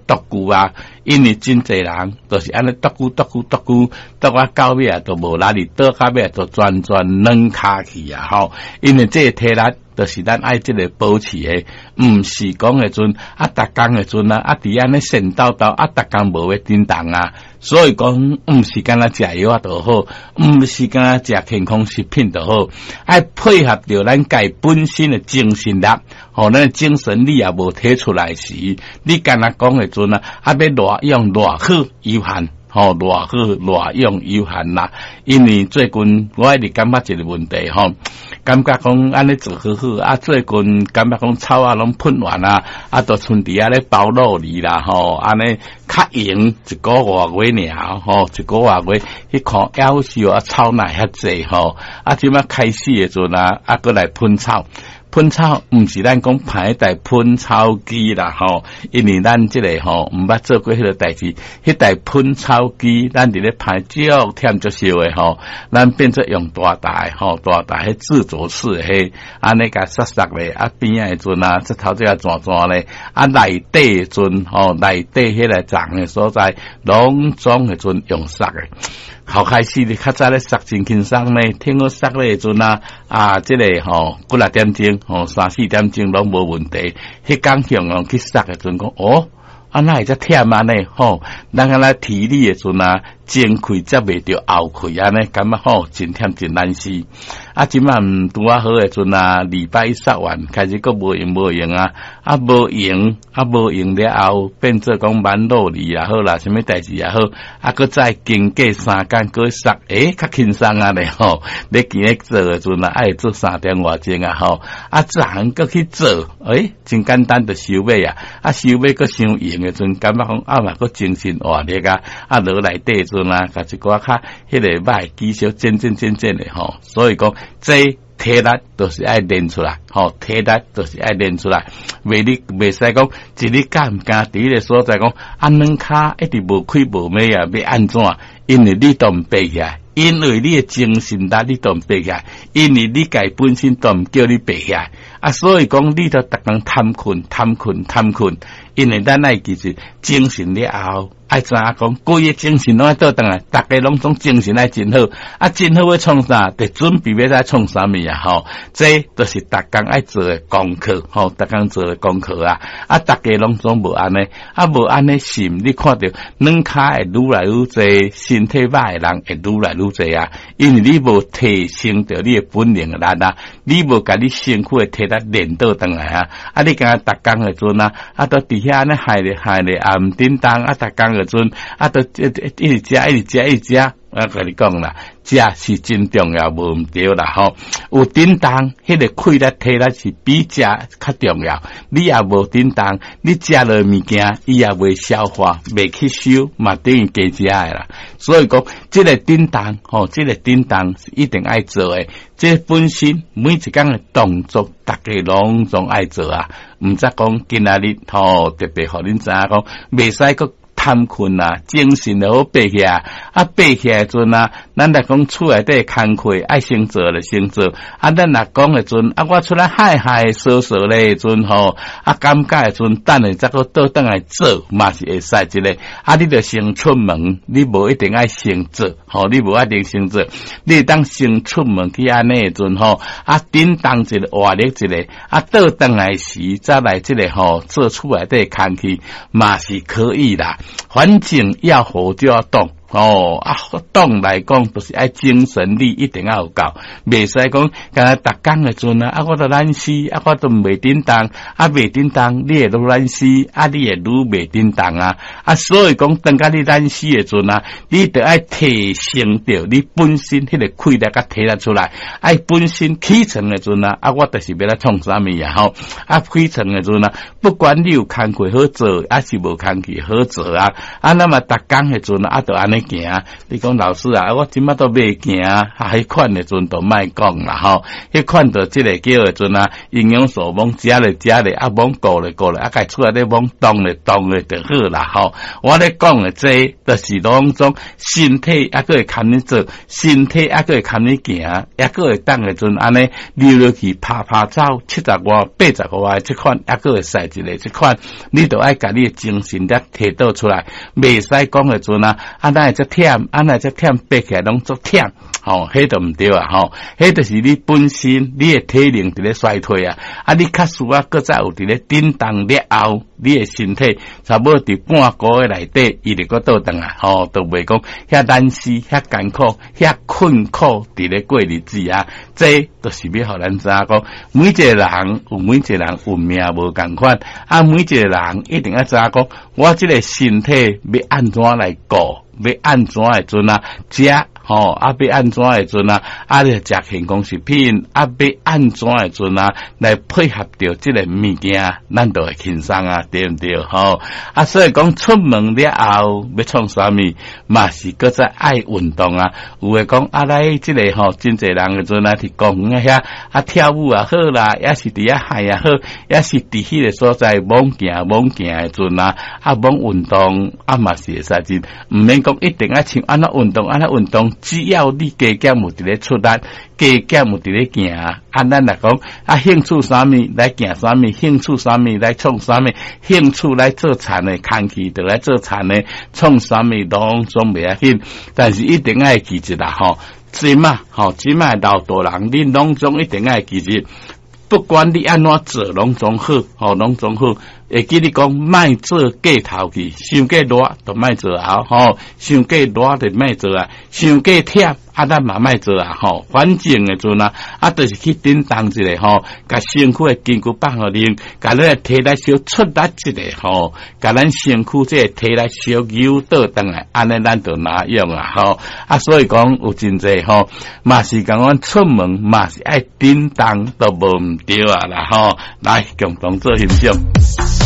獨居啊，因為真濟人就是按呢獨居獨居獨居，獨啊到尾啊都無力，倒到尾都全全軟跤去啊吼！因為這个體力就是咱愛這个保持的，毋是講的陣啊，逐工的陣啊，啊佇按呢顫抖抖啊，逐工無欲振動啊，所以講毋是干焦食藥仔就好，毋是干焦食健康食品就好，愛配合著咱家本身的精神力，吼，咱精神力也無提出來時，你干焦講的陣啊，啊欲偌用偌好有限。吼，偌好偌用有限啦，因為最近我一直感覺一個問題吼，感覺講按呢做好好啊，最近感覺講草仔攏噴完啊，啊，都賰佇遐咧包酪梨啦吼，按呢較閒一個外月爾吼，一個外月去看夭壽啊，草哪會遐濟吼，啊，這馬開始的陣啊，啊，閣來噴草。噴草毋是咱講歹台噴草機啦吼，因為咱這个吼毋捌做過彼个代誌，彼台噴草機咱佇咧歹足忝足燒的吼，咱變做用大台吼，大台彼自走式的彼，按呢共殺殺咧，啊邊仔的陣啊，這頭這個轉轉咧，啊內底的陣吼，內底彼个髒的所在，攏總的陣用殺的。頭開始你較早咧殺真輕鬆呢，聽講殺咧的陣啊，啊，這個吼幾若點鐘，吼三四點鐘攏無問題。彼工向用去殺的陣講，哦，啊哪會遮忝按呢？吼，咱敢若體力的陣啊，前氣接袂著後氣按呢，感覺吼真忝真難死。啊，這馬毋拄仔好的陣啊，禮拜一殺完，開始閣無閒無閒啊，啊無閒啊無閒了後，變做講挽酪梨也好啦，啥物代誌也好，啊，閣再經過三工閣殺，欸，較輕鬆啊咧吼。你今日做的陣啊，愛做3點外鐘啊吼，啊，逐項閣去做，欸，真簡單就收尾啊，啊，收尾閣傷閒的陣，感覺講啊嘛閣精神活力啊，啊落內底陣啊，共一寡較彼个歹技術剪剪剪剪的吼，所以講這體力都是愛練出來，吼，體力都是愛練出來，袂你袂使講一日敢毋敢佇彼个所在講，啊軟跤一直無開無尾啊，欲按怎？因為你都毋爬起來，因為你的精神力你都毋爬起來，因為你家本身都毋叫你爬起來，啊，所以講你都逐工貪睏貪睏貪睏，因為咱愛記住精神了後，愛知影講規个精神攏愛倒轉來，逐家攏總精神愛真好，啊，真好欲創啥？得準備欲來創啥物啊？吼，這都是逐工愛做的功課，吼，逐工做的功課啊！啊，逐家攏總無按呢，啊，無按呢心，你看著軟跤會愈來愈濟，身體歹的人會愈來愈濟啊！因為你無提升著你的本領力啊，你無共你身軀的體力練倒轉來啊！啊，你敢若逐工的陣啊，啊，都佇遐按呢害咧害咧，也毋振動啊，逐工的陣啊，都一直食，一直食，一直食。我共你講啦，食是真重要，無毋對啦吼。有振動，彼个氣力體力是比食較重要。你也無振動，你食落物件，伊也袂消化，袂吸收，嘛等於加食的啦。所以講，這个振動吼，這个振動是一定愛做的。這本身每一工的動作，逐家攏總愛做啊。毋則講今仔日吼，特別予恁知影講，袂使閣貪睏啊，精神就好爬起來，啊爬起來陣啊，咱來講厝內底工課愛先做就先做，啊咱若講的陣，啊我出來害害趖趖咧陣吼，啊感覺的陣，等下才閣倒轉來做嘛是會使一个，啊你著先出門，你無一定愛先做，吼，你無一定先做，你會當先出門去按呢的陣吼，啊振動一下活力一下，啊倒轉來時再來這个吼做厝內底工課嘛是可以啦。反正要活就要動哦，啊動來講，就是愛精神力一定要有夠，袂使講敢若逐工的陣啊，啊我都懶死，啊我都袂振動，啊袂振動，你會愈懶死，啊你會愈袂振動啊，啊所以講，當甲你懶死的陣啊，你著愛提升著你本身彼个氣力共體力出來，愛本身起床的陣啊，啊我就是欲來創啥物啊吼，啊起床的陣啊，不管你有工課好做，抑是無工課好做啊，啊那麼逐工的陣啊，啊著按呢。按呢行。你講老師啊，我這馬都袂行，啊，彼款的陣就莫講啦吼。彼款就這个叫的陣啊，營養素罔食咧食咧，啊，罔顧咧顧咧，啊，家出來咧罔動咧動咧就好啦吼。我咧講的這，就是攏總身體猶閣會堪你做，身體猶閣會堪你行，猶閣會當的陣按呢溜落去拍拍走，七十外、八十外這款，猶閣會使一个這款，你就愛共你的精神力提倒出來，袂使講的陣啊，啊，哪會遮忝，啊，哪會遮忝，爬起來攏足忝，吼，彼就毋對啊，吼，彼就是你本身你的體能佇咧衰退啊，啊，你較需要閣再有佇咧振動了後，你的身體差不多佇半個月內底，伊就閣倒轉來，吼，就袂講遐難事、遐艱苦、遐困苦佇咧過日子啊，這就是欲予咱知影講，每一个人有每一个人運命無仝款，啊，每一个人一定愛知影講，我這个身體欲按怎來顧，欲按怎的陣啊，食吼，啊，欲按怎的陣啊，啊，你食健康食品，啊，欲按怎的陣啊，來配合著這个物件，咱就會輕鬆啊，對毋對？吼，啊，所以講出門了後欲創啥物，嘛是閣再愛運動啊。有的講啊，來這个吼，真濟人的陣啊，佇公園遐啊跳舞也好啦，抑是佇遐喊也好，抑是佇彼个所在罔行罔行的陣啊，啊，罔運動啊嘛是會使真，毋免講一定愛像按怎運動按怎運動，只要你加減有佇咧出力，加減有佇咧行，啊，咱若講啊，興趣啥物來行啥物，興趣啥物來創啥物，興趣來做田的，空氣就來做田的，創啥物攏總袂要緊，但是一定愛記住啦吼，這馬吼，這馬老大人，恁攏總一定愛記住，不管你按怎做，攏總好，吼，攏總好。會記你講，莫做過頭去，傷過熱就莫做啊，吼，傷過熱就莫做啊，傷過忝啊，咱嘛莫做啊，吼。反正的陣啊，啊，就是去振動一下吼，共身軀的筋骨放予恁，共咱的體力小出力一下吼，共咱身軀這个體力小扭倒轉來，按呢咱就哪用啊，吼。啊，所以講有真濟吼，嘛是共阮出門嘛是愛振動，都無毋對啊啦，吼。來，共同做欣賞。